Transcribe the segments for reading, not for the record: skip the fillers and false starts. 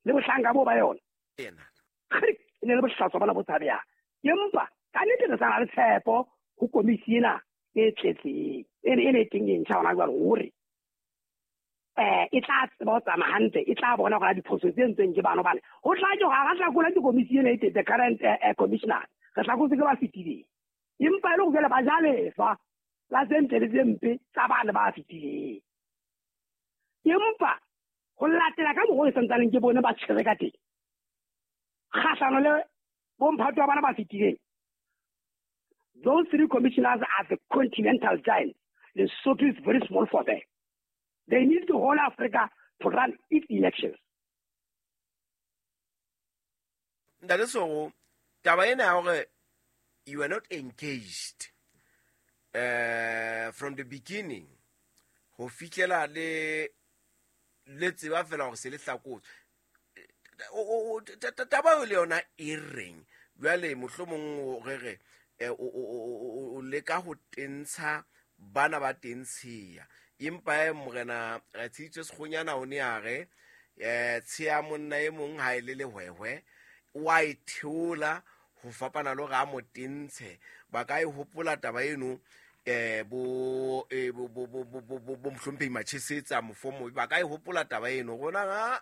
Le bohlanka bo ba yona. E ne le bohlaswa bona bo tshabehang. Empa ka nnete re sa na le tshepo ho komisi ena e tletseng e ne e teng e ntjha hona jwale hore e tla tseba ho tsamaya hantle, e tla bona gore diphoso tse entsweng ke bano bane ho tla ke gore ga hlakola ke komisi ena e teng, the current commissioner, re hlakotse ke ba fetileng, empa e le go jale ba ja lefa la tse ntle le tse mpe tsa bane ba fetileng. Empa go latela ka mokgwa o e santsaneng ke bone ba tshwere ka teng kgahlano le bomphato wa bana ba fetileng, those three commissioners are the continental giants. Lesotho is very small for them. They need the whole Africa to run its elections. Ntate Sogo, taba ena ya hore you are not engaged from the beginning ho fihlela le le tseba fela hore se le hlakotswe, taba eo le yona e reng jwale mohlomong re re o leka ho tentsha bana ba tentsheya, empa morena Tshitso Sekgonyana o ne a re tsheya monna e mong ha e le lehwehwe wa e theola ho fapana le hore a mo tentshe. Ba ka e hopola taba eno bo bo mohlomphehi Machesetsa mofomo, ba ka e hopola taba eno rona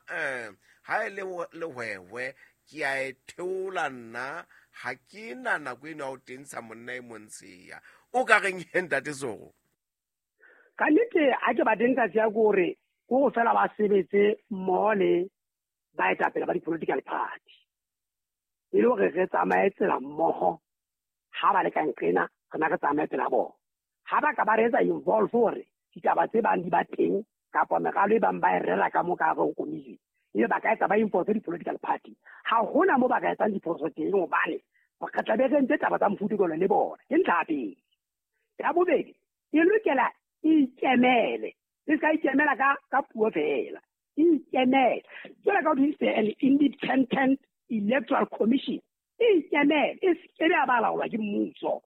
ha e le lehwehwe ke a e theola nna, ha ke na nako eno ya ho tentsha monna e montsheya. O ka reng he ntate Sogo? Ka nnete ha ke ba tentsha tsheya ke hore ke ho fela ba sebetse mmoho le baetapele ba di-political party, e le hore re tsamaye tsela mmoho. Ha ba le ka nqena re na re tsamaye pela bona. Ha ba ka ba re etsa involve hore ditaba tse bang di ba teng kapa meralo e bang ba e rera ka mo ka hare ho komiti, ebe ba ka etsa ba involve di-political party, ha hona mo ba ka etsang diphoso teng, hobane re tla be re entse taba tsa mofuta jwalo le bona. Ke ntlha ya pele. Ya bobedi, e lokela e ikemele, e ska ikemela ka puo fela, e ikemele jwalo ka ho thwe an independent electoral commission, e ikemele, e se ke be ba laolwa ke mmuso,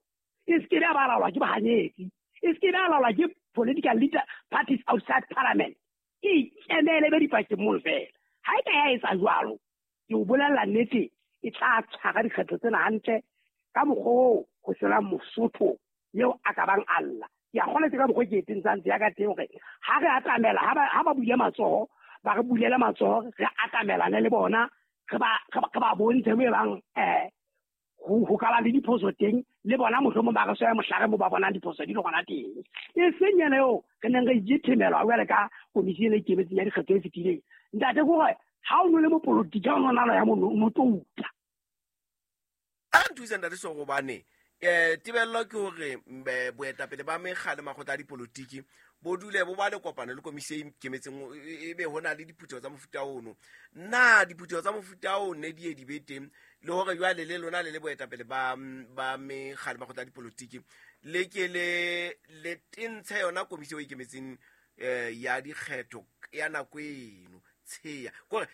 e se ke be ba laolwa ke bahanyetsi, e se ke be laolwa ke political leader parties outside parliament, e ikemele be dipakeng mono fela. Ha e ka ya etsa jwalo, ke o bolella nnete, e tla tshwara dikgetho tsena hantle ka mokgwa oo ho senang Mosotho eo a ka bang a lla. Ke a kgolwa ke ka mokgwa ke e tentshang ya ka teng hore ha re atamela, ha ba bule matsoho, ba re bulele matsoho, re atamelane le bona, re ba bontshe mo e bang ho ka ba le diphoso teng, le bona mohlomong ba re swaya mohlare mo ba bonang diphoso di le gona teng. E seng yena eo re neng re ithemelwa jwale ka komisi ena e ikemetseng ya dikgetho e fetileng. Ntate, ke hore ha o no le mopolotiki, ha o no nalo ya mono, o no tlo utlwa. A nthuse ntate Sogo, hobane tebello ke hore boetapele ba mekga le makgotla a dipolotiki bo dule bo ba le kopano le komisi e ikemetseng, e be ho na le diphutheho tsa mofuta ono. Na diphutheho tsa mofuta o ne di ye di be teng, le hore jwale le lona le le boetapele ba mekga le makgotla a dipolotiki le ke le tentshe yona komisi e ikemetseng ya dikgetho ya nako eno tsheya, kore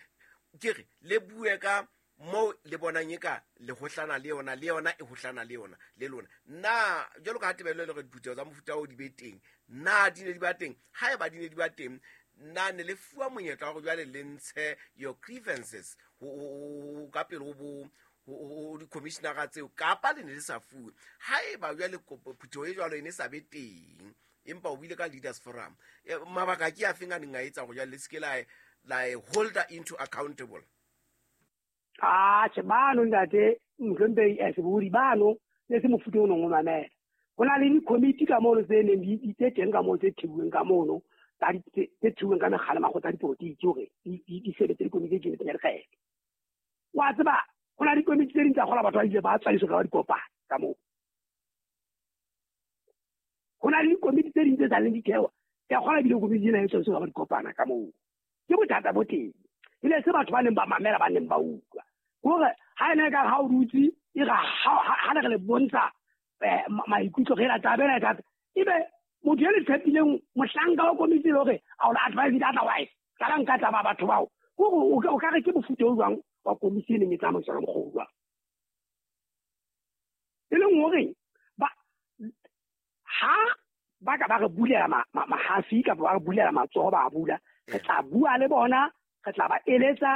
ke re le bue ka mo le bonang e ka le hohlana le yona, le yona e hohlana le yona le lona. Na jwalo ka ha tebello e le hore diphutheho tsa mofuta oo di be teng, na di ne di ba teng? Haeba di ne di ba teng, na ne le fuwa monyetla wa hore jwale le ntshe your grievances ho ka pele ho bo ho di-commissionera tseo, kapa le ne le sa fuwe? Haeba jwale phutheho e jwalo e ne sa be teng, empa o buile ka leaders forum, mabaka ke a feng a neng a etsa hore jwale le se ke la e holder into accountable? Atjhe, bano ntate mohlomphehi Sebodi, bano ne se mofuta o nong o mamela. Ho na le dikomiti ka mono tse neng di tse teng ka mono, tse theuweng ka mono, tse theuweng ka mekga le makgotla a dipolotiki hore di sebetse dikomiti tse ikemetseng ya dikgetho. Wa tseba, ho na le dikomiti tse ding tsa kgola batho ba ile ba tswa ka ba di kopana ka moo. Ho na le dikomiti tse ding tse sa leng di thewa, ke a kgola ebile komiti ena e tswa ka ba di kopana ka moo. Ke bothata bo teng. E ne se batho ba neng ba mamela, ba neng ba utlwa. Hore ha ene ka ha o dutse, e re ha le re le bontsha maikutlo re la taba ena e thata, ebe motho e le tshepileng mohlanka wa komiti le hore a o advise it otherwise, ka la nka taba batho bao. Hore o ka re ke mofuta o jwang wa komiti e neng e tsamaiswa ka mokgwa o jwang. E leng hore ha ba ka ba re bulela mahafi kapa ba re bulela matsoho, ba bula, re tla bua le bona, re tla ba eletsa.